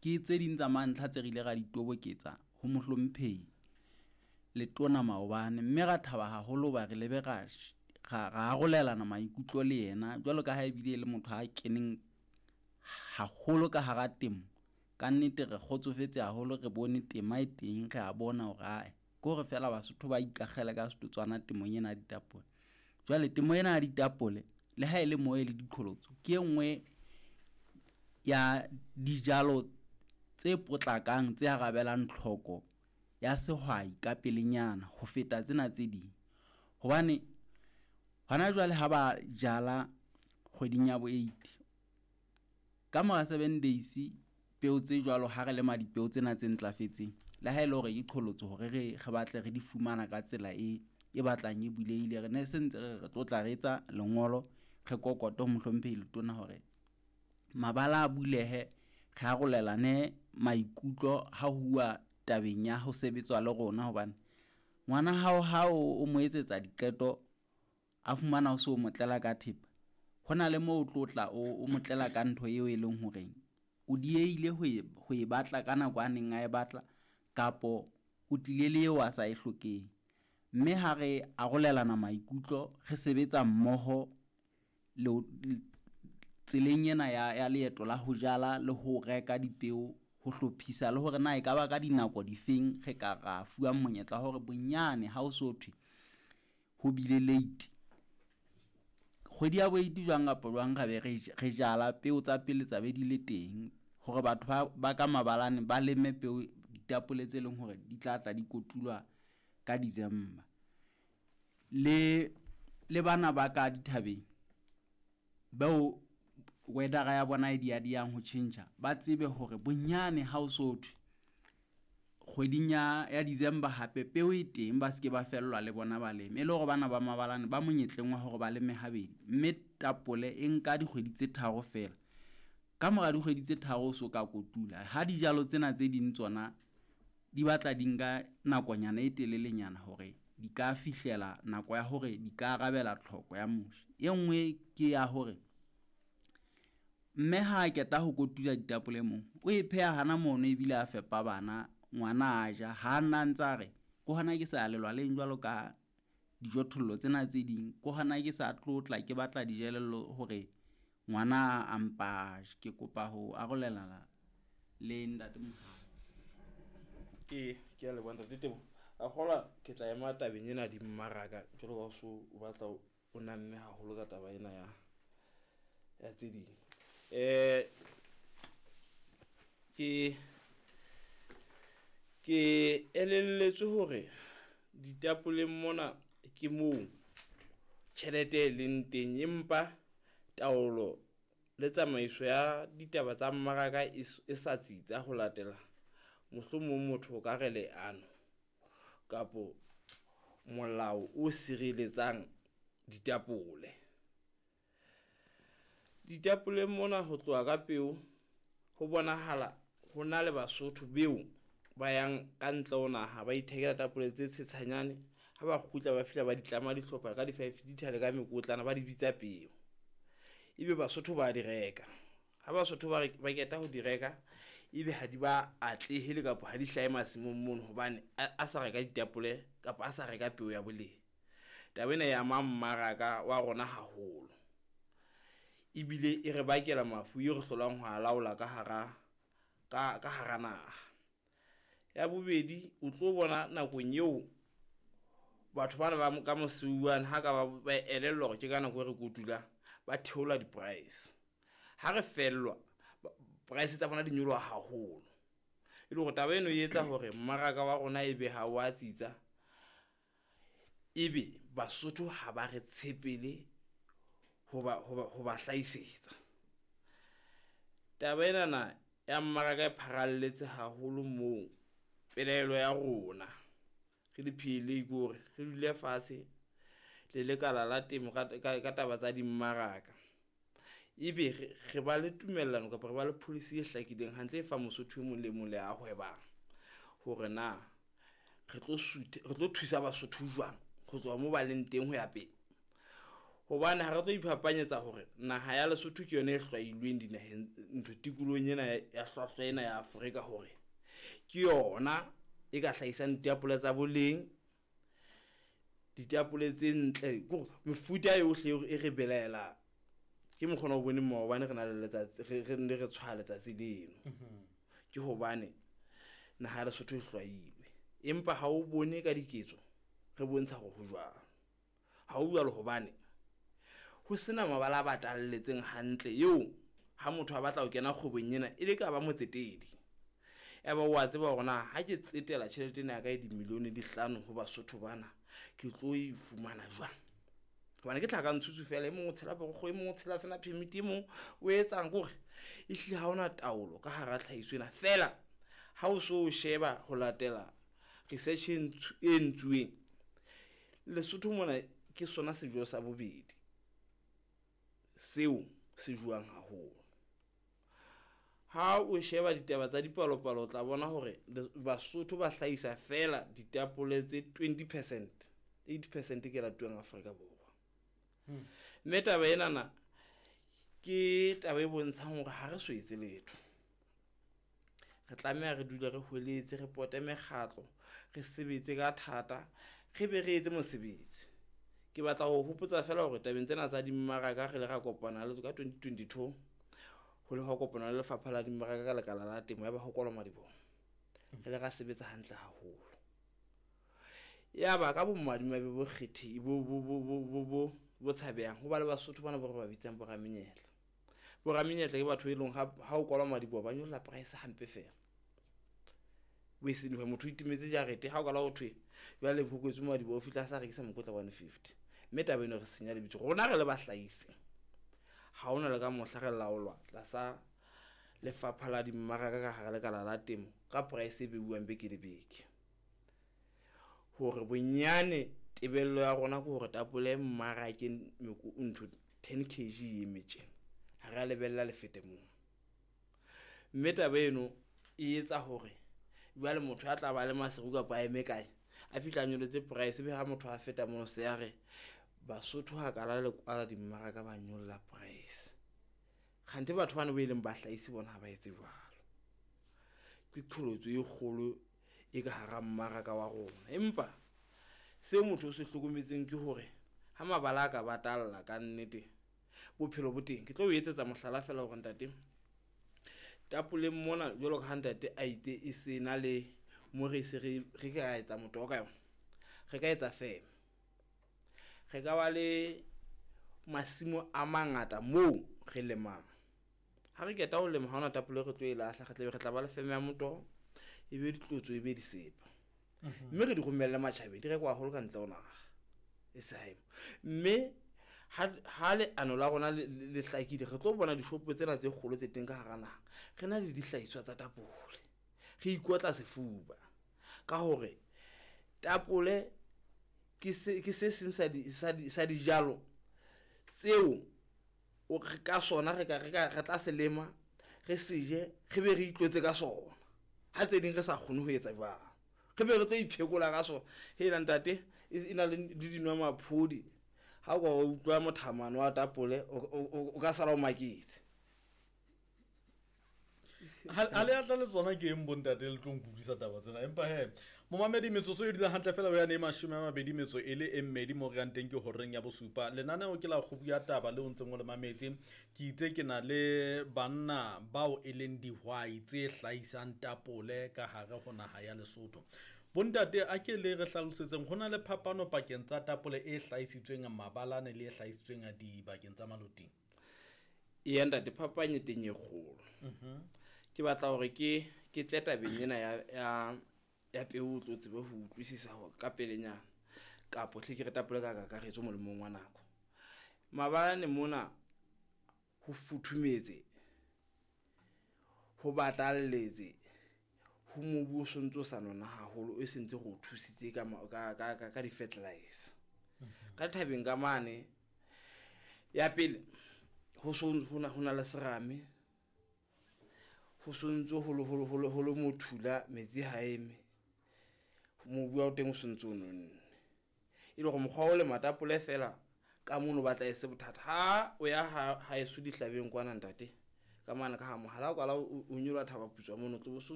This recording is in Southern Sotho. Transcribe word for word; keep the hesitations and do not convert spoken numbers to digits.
Ke tse ding tsa mantlha tse re ile ra di toboketsa ho mohlomphehi Letona maobane, mme ra thaba haholo hoba re lebe ra ra ra arolelana maikutlo le yena jwalo ka ha ebile e le motho a keneng haholo ka hara temo. Ka nnete re kgotsofetse haholo, re bone tema e teng, re a bona hore ae ke hore feela Basotho ba ikakgela ka setotswana temong ena ya ditapole. Jwale temo ena ya ditapole le ha e le mo e le diqholotso, ke e nngwe ya dijalo tse potlakang tse arabelang tlhoko ya sehwai ka pelenyana ho feta tsena tse ding. Hobane hona jwale ha ba jala kgweding ya bo eight, ka mora seven days peo tse jwalo ha re lema dipeo tsena tse ntlafetseng, le ha ele hore ke qholotso hore re re batle re di fumana ka tsela e e batlang e bulehile. Re ne se ntse re re re tlo tla re etsa lengolo, re kokote ho mohlomphehi Letona hore mabala a bulehe, re arolelane maikutlo ha huwa tabeng ya ho sebetswa le rona. Hobane ngwana hao ha o mo etsetsa diqeto, a fumana o so mo tlela ka thepa, hona le moo o tlo tla o mo tlela ka ntho eo e leng horeng o diehile ho e ho e batla ka nako a neng a e batla, kapo o tlile le eo a sa e hlokeng. Mme ha re arolelana maikutlo, re sebetsa mmoho le tseleng ena ya ya leeto la ho jala le ho reka dipeo, ho hlophisa le hore na ekaba ka dinako difeng re ka ra fuwang monyetla wa hore bonyane ha o so thwe ho bile late. Kgwedi ya bo eight jwang kapa jwang ra be re re jala peo tsa pele tsa be di le teng hore batho ba ba ka mabalane ba leme peo ditapole tse leng hore di tla tla di kotulwa ka December. Le le bana ba ka dithabeng bao weather-a ya bona e dia diang ho tjhentjha, ba tsebe hore bonyane ha o so thwe kgweding ya ya December hape peo e teng, ba ske ba fellwa le bona ba leme. E le hore bana ba mabalane ba monyetleng wa hore ba leme habedi, mme tapole e nka dikgwedi tse tharo feela. Ka mora dikgwedi tse tharo o so ka kotula, ha dijalo tsena tse ding tsona di batla di nka nakonyana e telelenyana hore di ka fihlela nako ya hore di ka arabela tlhoko ya . E nngwe ke ya hore mme ha qeta ho kotula ditapole moo, o e pheha hana mono ebile a fepa bana, ngwana a ja. Ha nna ntsa re ke hona ke sa lelwaleng jwalo ka dijothollo tsena tse ding, ke hona ke sa tlotla ke batla dijelello hore ngwana a mpa a je. Ke kopa ho arolelana le ntate . Ee, ke a leboha ntate Teboho. A kgolwa ke tla ema tabeng ena ya dimmaraka jwalo ka o so o batla o namme haholo ka taba ena ya ya tse ding. Eh ke ke elelletswe hore ditapoleng mona ke moo tjhelete e leng teng, empa taolo le tsamaiso ya ditaba tsa mmaraka e e sa tsitsa ho latela mohlomong motho o ka re leano kapo molao o sireletsang ditapole. Ditapoleng mona ho tloha ka peo ho bonahala ho na le Basotho beo ba yang ka ntle ho naha, ba ithekela tapole tse tshetshanyane. Ha ba kgutla ba fihla ba di tlama dihlopha ka di-five litre le ka mekotlana, ba di bitsa peo. Ebe Basotho ba di reka, ha Basotho ba ba qeta ho di reka, ebe ha di ba atlehele kapa ha di hlahe masimong mono hobane a, a sa reka ditapole kapa a sa reka peo ya boleng. Taba ena e ama mmaraka wa rona haholo, ebile e re bakela mafu e re hlolang ho a laola ka hara ka, ka hara naha. Ya bobedi, o tlo bona nakong eo batho bana ba ka moseuwane ha ka ba ba elellwa hore ke ka nako e re kotulang, ba theola di-price. Ha re fellwa, price tsa bona di nyoloha haholo. E le hore taba eno e etsa hore mmaraka wa rona ebe ha wa tsitsa, ebe Basotho ha ba re tshepele ho ba, ho ba, ho ba hlahisetsa. Taba enana ya mmaraka e pharalletse haholo moo pelaelo ya rona re le P L A ke hore re dule fatshe le lekala la temo ka, ka, ka taba tsa dimmaraka. Ebe re, re ba le tumellano kapa re ba le policy e hlakileng hantle e fa Mosotho e mong le mong le a hwebang hore na re tlo suthe, re tlo thusa Basotho jwang ho tswa mo ba leng teng ho ya pele. Hobane ha re tlo iphapanyetsa hore naha ya Lesotho ke yona e hlwailweng dinaheng ntho tikolohong ena ya hlwahlwa ena ya Afrika hore ke yona e ka hlahisang ditapole tsa boleng, ditapole tse ntle kore mefuta yohle e re belaelang. Ke mokgwa ona o boneng maobane re na le letsatsi re re ne re tshwaya letsatsi leno. Ke hobane naha ya Lesotho e hlwailwe, empa ha o bone ka diketso re bontsha hore ho jwang. Ha ho jwalo hobane ho sena mabala a batalletseng hantle eo ha motho a batla ho kena kgwebong ena e le ka ba motsetedi. Ya ba wa tseba hore na ha ke tsetela tjhelete ena ya ka e di-million di hlano ho Basotho bana, ke tlo e fumana jwang. Hobane ke tlhaka ntshutshu fela, e mong o tshela borokgo, e mong o tshela sena permit, e mong o etsang kore ehlile ha hona taolo ka hara tlhahiso ena. Feela ha o so sheba ho latela research e e entsuweng Lesotho mona, ke sona sejo sa bobedi seo se jowang haholo. Ha o sheba ditaba tsa dipalopalo, o tla bona hore Basotho ba hlahisa feela ditapole tse twenty percent, eighty percent ke latuwang Afrika Borwa. Mme taba enana ke taba e bontshang hore ha re so etse letho. Re tlameha re dule re hweletse, re pote mekgatlo, re sebetse ka thata, re be re etse mosebetsi. Ke batla ho hopotsa feela hore tabeng tsena tsa dimmaraka re ile ra kopana le ka twenty twenty-two, ho le hwa kopana le lefapha la dimmaraka ka lekala la temo ya ba ho kwalwa madiboho. Re ile ra sebetsa hantle haholo. Ya ba ka bomadimabe bo kgethi bo, bo, bo, bo, bo, bo, bo tshabehang, ho ba le Basotho bana bo re ba bitsang bo ramenyetla. Bo ramenyetla ke batho e leng ha, ha o kwalwa madiboho ba nyolla price hampe fela. O e seng motho o itemetse jarete, ha o kala ho thwe jwale ho kwetswe madiboho, o fihla a sa rekisa mokotla one fifty. Mme taba eno re senya lebitso. Rona re le bahlahisi, ha hona le ka mohla re laolwa tlasa lefapha la dimmaraka ka hara lekala la temo ka price e beuwang beke le beke. Hore bonyane tebello ya rona ke hore tapole mmarakeng ntho ten kg e eme tje. Ha re a lebella le fete moo. Mme taba eno e etsa hore jwale motho a tla ba le Maseru kapa a eme kae, a fihla a nyollotse price, ebe ha motho a feta mono se a re Basotho ha kala le kwala dimmaraka ba nyolla price. Kganthe batho bana bo e leng bahlahisi bona ha ba etse jwalo. Ke qholotso e kgolo e ka hara mmaraka wa rona. Empa seo motho o se hlokometseng ke hore ha mabala a ka batalla ka nnete, bophelo bo teng. Ke tlo o etsetsa mohlala feela hore ntate, tapoleng mona jwalo ka ha ntate a itse e se na le mo re se re, re ka etsa motoho ka yona, re ka etsa feme. Re ka ba le masimo a mangata moo re lemang. Ha re qeta ho lema, ha hona tapole re tlo e lahla, re tla be re tla ba le feme ya motoho, e be ditlotso, e be disepa. Mme re di romelle matjhabeng, di rekwa haholo ka ntle ho naha. E sa ema. Mme ha, ha leano la rona le, le, le hlakile, re tlo bona dishopo tsena tse kgolo tse teng ka hara naha. Re na le dihlahiswa tsa tapole. Re ikotla sefuba ka hore tapole ke se, ke se seng sa di, sa di, sa dijalo tseo o re ka sona re ka, re ka, re tla se lema, re se je, re be re itlotse ka sona. Ha tse ding re sa kgone ho etsa jwalo, re be re tlo iphekola ka sona. Hela ntate, e, e na le le dinwamaphodi. Ha o ka utlwa mothamano wa tapole, o, o, o, o ka sala o maketse. Ha, ha le atla le tsona ke eng bontate le tlo nkutlwisa taba tsena? Empa he, momamedi metsotso e dula hantle fela ho yane e mashome a mabedi metso e le e mmedi mo re yang teng ke horeng ya bosupa. Lenaneo ke la kgobu ya taba le o ntseng o le mametse. Ke itse ke na le banna bao e leng dihwai tse hlahisang tapole ka hare ho naha ya Lesotho. Bontate, a ke le re hlalosetseng, ho na le phapano pakeng tsa tapole e hlahisitsweng mabalane le e hlahisitsweng dibakeng tsa maloting? Eya ntate, phapang e teng e kgolo. Mhm. Ke batla hore ke, ke tle tabeng ena ya, ya, ya peo o tlo tsebe ho utlwisisa hore ka pelenyana, kapo hle ke re tapole ka kakaretso molemong wa nako. Mabalane mona ho futhumetse, ho batalletse, ho mobu o sontso o sa nona haholo, e sentse re o thusitse ka ma-, ka, ka, ka, ka di-fertilizer. Mhm. Ka thabeng ka mane, ya pele, ho so, ho na, ho na le serame, ho sontso ho le, ho le, ho le, ho le mothula, metsi ha eme, mobu wa teng o sontso o nonne. E le hore mokgwa wa ho lema tapole feela Ka mono batla e se bothata. Ha o ya ha haeso dihlabeng kwana ntate. Ka mane ka ha mohala o kwala o o nyoloha thaba putswa mono tlo bo so